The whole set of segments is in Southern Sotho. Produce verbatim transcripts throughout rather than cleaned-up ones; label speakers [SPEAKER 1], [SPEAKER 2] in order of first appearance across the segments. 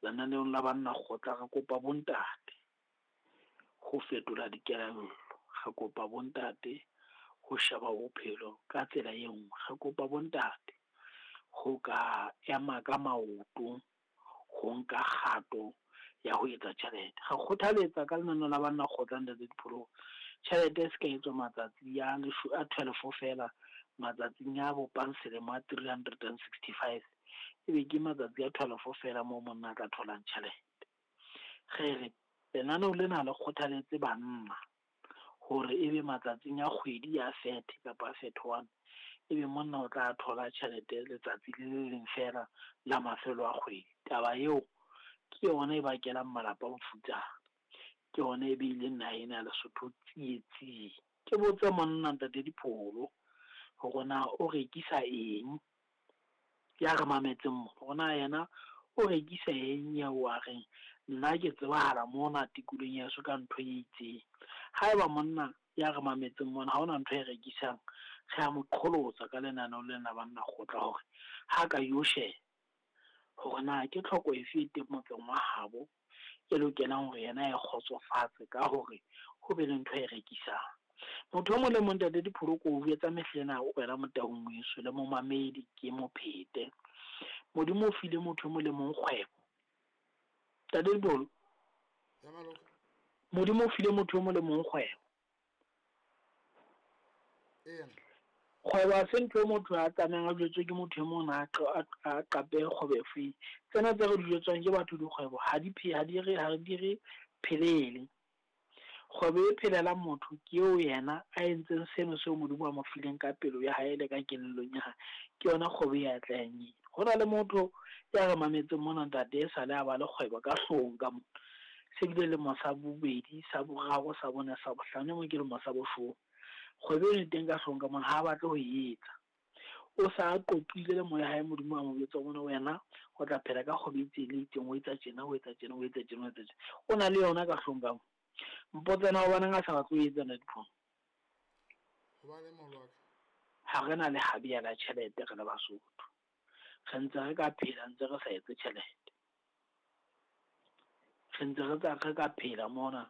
[SPEAKER 1] Lenaneong la banna kgotla re kopa bontate ho fetola dikelello. Re kopa bontate ho sheba bophelo ka tsela e nngwe. Re kopa bontate ho ka ema ka maoto, ho nka kgato ya ho etsa tjhelete. Re kgothaletsa ka lenaneo la banna kgotla ntate Dipholo, tjhelete e se ka etswa matsatsi a a twelve fela matsatsing a bopang selemo a three hundred and sixty five. Ebe ke matsatsi a twelve fela moo monna a tla tholang tjhelete. Re re lenaneo lena le kgothaletse banna hore ebe matsatsing a kgwedi ya thirty kapa thirty one, ebe monna o tla thola tjhelete letsatsi le le leng fela la mafelo a kgwedi. Taba eo ke yona e bakelang malapa bofutsana, ke yona e beileng naha ena ya Lesotho tsietsing. Ke botse monna ntate Dipholo hore na o rekisa eng, ya re mametseng mo, hore na yena o rekisa eng eo a reng nna ke tsebahala mona tikolohong ya heso ka ntho e itseng. Haeba monna ya re mametseng mona ha hona ntho e rekisang, re a mo qholotsa ka lenaneo lena banna kgotla hore ha ka yo sheba hore na ke tlhoko efe e teng motseng wa habo e lokelang hore yena e kgotsofatse ka hore ho be le ntho e rekisang. Motho e mong le mong ntate Dipholo ko o jwetsa mehlena wena Motaung weso le momamedi ke mophete. Modimo o file motho e mong le mong kgwebo. Ntate Dipholo, Modimo o file motho e mong le mong kgwebo. Kgwebo ha se ntho e motho a tsamayang a jwetswe ke motho e mong a a qape kgwebo e feng. Tsena tse re di jwetswang ke batho dikgwebo ha di ha di re ha di re phelele. Kgwebo e phelelang motho ke eo yena a entseng seno seo Modimo a mo fileng ka pelo ya hae le ka kelellong ya hae. Ke yona kgwebo e atlehang eo. Ho na le motho ya re mametseng mona ntate e sale a ba le kgwebo ka hloohong ka mona. Se bile lemo sa bobedi, sa boraro, sa bone, sa bohlano, e mong ke lemo sa boshome. Kgwebo eno e teng ka hloohong ka mona, ha a batle ho e etsa. O sa qoqile le moya hae Modimo a mo jwetsa hore wena o tla phela ka kgwebo e itseng le itseng, o etsa tjena, o etsa tjena, o etsa tjena, o etsa tjena. O na le yona ka hloohong ka mona. Mpotse na hobaneng a sa batle ho etsa ntate Dipholo?
[SPEAKER 2] Hobaneng moholo wa ka?
[SPEAKER 1] Ha re na le habia la tjhelete re le Basotho. Re ntse re ka phela ntse re sa etse tjhelete. Re ntse re tsa re ka phela mona,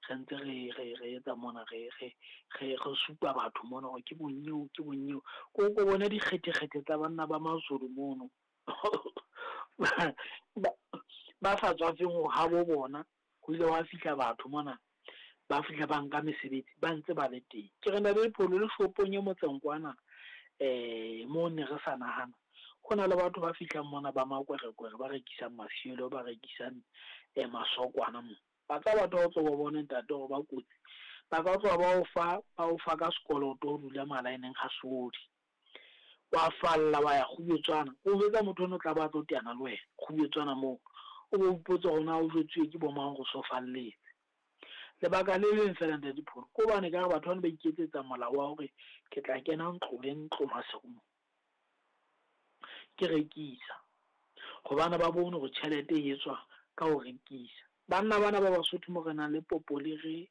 [SPEAKER 1] re ntse re re re etsa mona re re re re supa batho mona hore ke bonyeo ke bonyeo. Ko ko bone dikgethekgethe tsa banna ba Mazulu mono. Ba ba sa tswafeng ho habo bona, ho ile hwa fihla batho mona ba fihla ba nka mesebetsi ba ntse ba le teng. Ke re ntate Dipholo le shopong e motseng kwana eh mo ne re sa nahana. Ho na le batho ba fihlang mona ba makwerekwere ba rekisang mafielo, ba rekisang eh masokwana mo. Ba tla batho ba tlo ba bone ntate hore ba kotsi. Ba ka tloha ba o fa ba o fa ka sekoloto ho dula malaeneng ha sodi. Wa falla wa ya Kgubetswana. O jwetsa motho ono tla ba tlo teana le wena Kgubetswana moo. O bo ipotsa hore na o jwetsuwe ke bo mang hore so falletse. Lebaka le leng fela ntate Dipholo, ke hobane ka batho bana ba iketsetsa molao wa hore ke tla kena ntlo le ntlo Maseru. Ke rekisa. Hobane ba bone hore tjhelete e etswa ka ho rekisa. Banna bana ba Basotho mo re nang le popoliri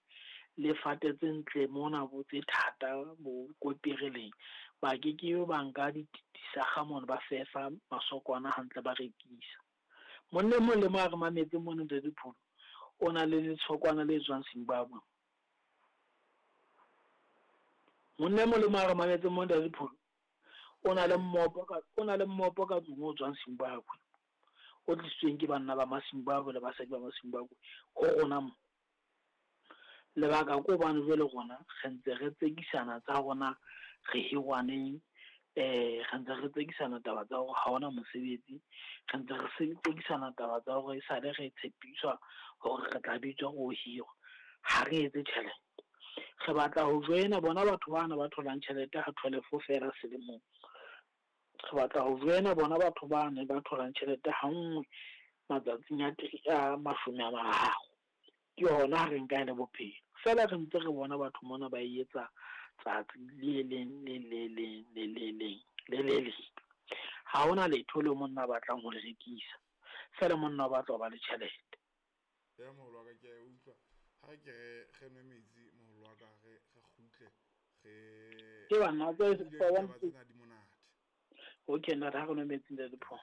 [SPEAKER 1] le fate tse ntle mona bo tse thata bo kopereleng, ba ke ke ba nka disakga mona ba fefa masokwana hantle ba rekisa. Monna e mong le mong a re mametse mona ntate Dipholo, o na le letshokwana le tswang Zimbabwe. Monna e mong le mong a re mametse mona ntate Dipholo, o na le mmopo ka o na le mmopo ka tlung o tswang Zimbabwe. O tlisitsweng ke banna ba Mazimbabwe le basadi ba Mazimbabwe ho rona mo. Lebaka ke hobane jwale rona re ntse re tsekisana tsa rona re hirwaneng, eh re ntse re tsekisana taba tsa hore ha hona mosebetsi, re ntse re tsekisana taba tsa hore esale re tshepiswa hore re tla bitswa ho hirwa. Ha re etse tjhelete. Re batla ho joina bona batho bana ba tholang tjhelete ha twelve fela selemong. Re batla ho joina bona batho bana ba tholang tjhelete ha nngwe matsatsing a a mashome a mararo. Ke hona ha re nka e le bophelo. Feela re ntse re bona batho mona ba e etsa tsatsi le leng le le leng le le leng le le leng. Ha hona letho leo monna a batlang ho le rekisa. Feela monna o batla ho ba le tjhelete.
[SPEAKER 2] Ya moholo wa ka ke a utlwa. Ha re ke re re nwe metsi moholo wa ka re re kgutle re
[SPEAKER 1] Ke banna tse
[SPEAKER 2] ditaba tsena di monate.
[SPEAKER 1] Okay, ntate ha re nwe metsi ntate Dipholo.